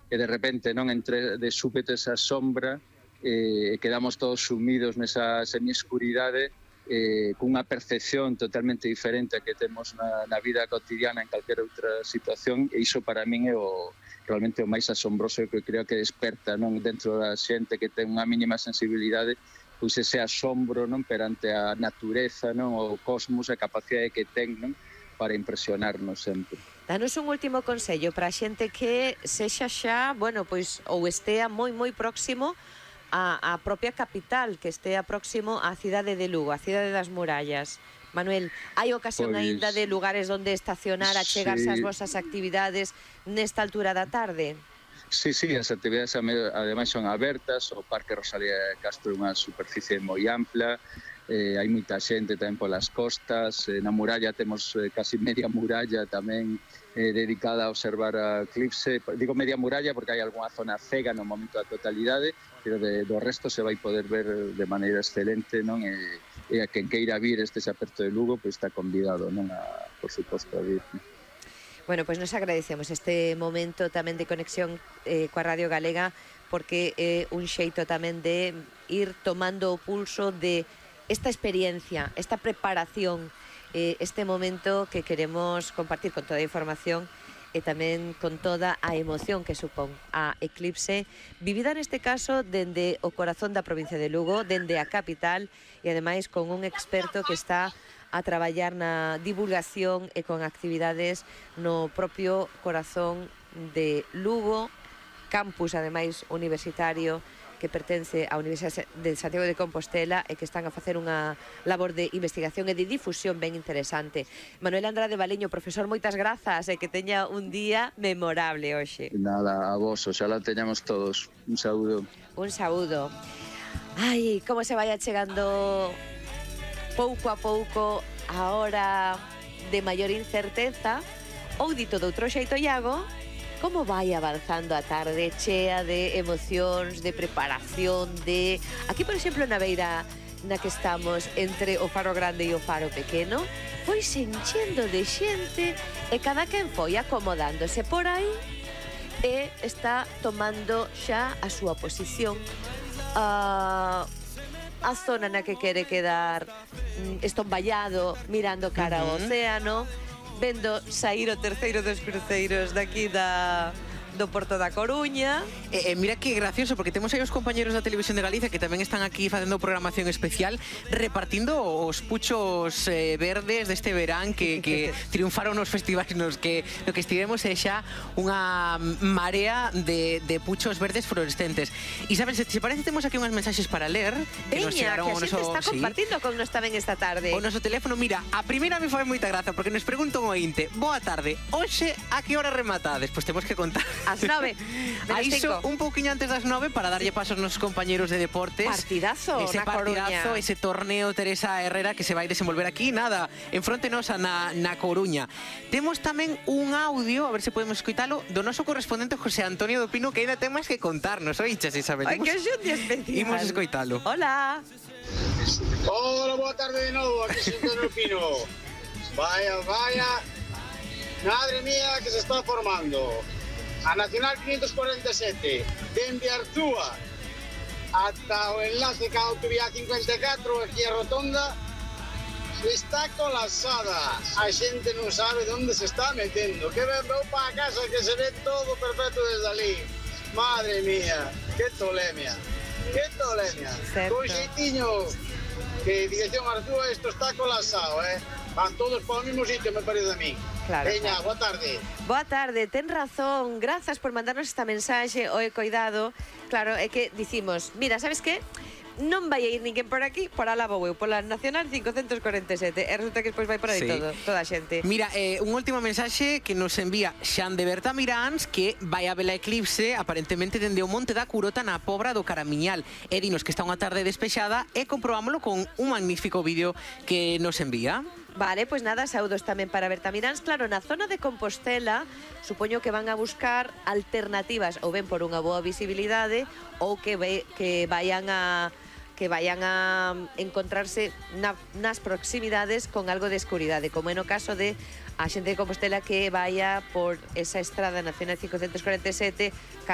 e de repente non entre de súbito esa sombra, quedamos todos sumidos nesa semiescuridade, cunha percepción totalmente diferente a que temos na vida cotidiana en calquera outra situación, e iso para min é realmente o máis asombroso que creo que desperta dentro da xente que ten unha mínima sensibilidade, pois ese asombro perante a natureza, o cosmos, a capacidade que ten para impresionarnos sempre. Danos un último consello para a xente que sexa xa, pois ou estea moi próximo á propia capital, que estea próximo á cidade de Lugo, á cidade das murallas. Manuel, hai ocasión aínda de lugares onde estacionar, achegarse ás vosas actividades nesta altura da tarde? Sí, as actividades ademais son abertas, o Parque Rosalía de Castro é unha superficie moi ampla, hai moita xente tamén polas costas, na muralla temos casi media muralla tamén dedicada a observar a eclipse. Digo media muralla porque hai algunha zona cega no momento da totalidade, pero do resto se vai poder ver de maneira excelente, e a quen queira vir este aperto de Lugo, pois está convidado, por suposto, a vir. Bueno, pois nos agradecemos este momento tamén de conexión coa Radio Galega, porque é un xeito tamén de ir tomando o pulso de esta experiencia, esta preparación, este momento que queremos compartir con toda a información e tamén con toda a emoción que supón a eclipse, vivida neste caso dende o corazón da provincia de Lugo, dende a capital, e ademais con un experto que está a traballar na divulgación e con actividades no propio corazón de Lugo, campus ademais universitario que pertence á Universidade de Santiago de Compostela e que están a facer unha labor de investigación e de difusión ben interesante. Manuel Andrade Valiño, profesor, moitas grazas e que teña un día memorable hoxe. Nada, a vos, oxalá teñamos todos. Un saúdo. Un saúdo. Ai, como se vai achegando pouco a pouco a hora de maior incerteza, ou dito de outro xeito, Iago, como vai avanzando a tarde chea de emocións, de preparación, de... Aquí, por exemplo, na beira na que estamos entre o Faro Grande e o Faro Pequeno, foi se enchendo de xente e cada quen foi acomodándose por aí e está tomando xa a súa posición. A zona na que quere quedar estomballado, mirando cara ao océano, vendo sair o terceiro dos cruceiros daqui do Porto da Coruña. Mira que gracioso, porque temos aí os compañeros da Televisión de Galicia que tamén están aquí facendo programación especial, repartindo os puchos verdes deste verán que triunfaron nos festivais no que estivemos, e xa unha marea de puchos verdes fluorescentes. E sabes, se parece, temos aquí unhas mensaxes para ler que nos chegaron ao noso... Veña, que a xente está compartindo con nos tamén esta tarde. O noso teléfono, mira, a primeira me fai moita graza, porque nos pregunta un ointe: boa tarde, hoxe a que hora rematades? Pois temos que contar ás 9, a iso un pouquiño antes das 9 para darlle paso aos nosos compañeros de deportes. Partidazo ese na Coruña. Ese torneo Teresa Herrera que se vai desenvolver aquí, nada, en fronte nosa na Coruña. Temos tamén un audio, a ver se podemos escoitalo, do noso correspondente José Antonio do Pino, que ainda ten máis que contarnos, oiches, Isabel. Ai, que xundia especial. Imos escoitalo. Hola. Hola, boa tarde de novo, aquí Xosé Antonio Pino. Vaya, madre mía, que se está formando. A Nacional 547, dende Arzúa ata o enlace ca autovía 54, aquí a Rotonda, está colapsada. A xente non sabe onde se está metendo. Que veu para a casa que se ve todo perfecto desde ali. Madre mía, que tolemia. Con xeitiño que dirección Arzúa isto está colapsado, Van todos para o mismo sitio, me parece a mí. Claro. Veña, boa tarde. Boa tarde, ten razón. Grazas por mandarnos esta mensaxe. Oe, coidado. Claro, é que dicimos, mira, sabes que? Non vai a ir ninguén por aquí, por alá vou eu, pola Nacional 547. E resulta que despois vai por aí toda a xente. Mira, un último mensaxe que nos envía Xan de Berta Miráns, que vai a ver a eclipse, aparentemente dende o Monte da Curota na Pobra do Caramiñal. E dinos que está unha tarde despexada e comprobámoslo con un magnífico vídeo que nos envía. Vale, pois nada, saúdos tamén para Berta Miráns. Claro, na zona de Compostela, supoño que van a buscar alternativas, ou ben por unha boa visibilidade, ou que vayan a encontrarse nas proximidades con algo de escuridade, como é no caso de a xente de Compostela que vaya por esa estrada Nacional 547